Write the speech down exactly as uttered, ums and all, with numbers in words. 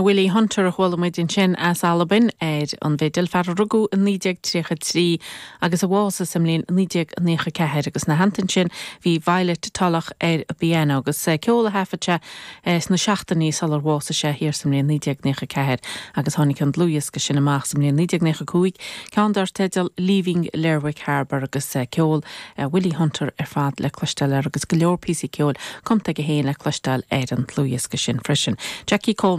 Willie Hunter a chuala muid ansin as Albain ar an bhfidil fear a rugadh i naoi déag tríocha trí agus a bhásaigh sa mbliain naoi déag nócha ceathair agus ina theannta sin bhí Violet Tulloch ar an bpianó agus ceol a thaifead sé sna seachtainí sular bhásaigh sé thiar sa mbliain naoi déag nócha ceathair agus tháinig an dlúthdhiosca sin amach sa mbliain naoi déag nócha cúig ceann dar teideal Leaving Lerwick Harbour agus ceol Willie Hunter ar fad le cloisteáil air agus go leor píosaí ceoil cumtha aige féin le cloisteáil ar an dlúthdhiosca sin freisin. Jackie Coleman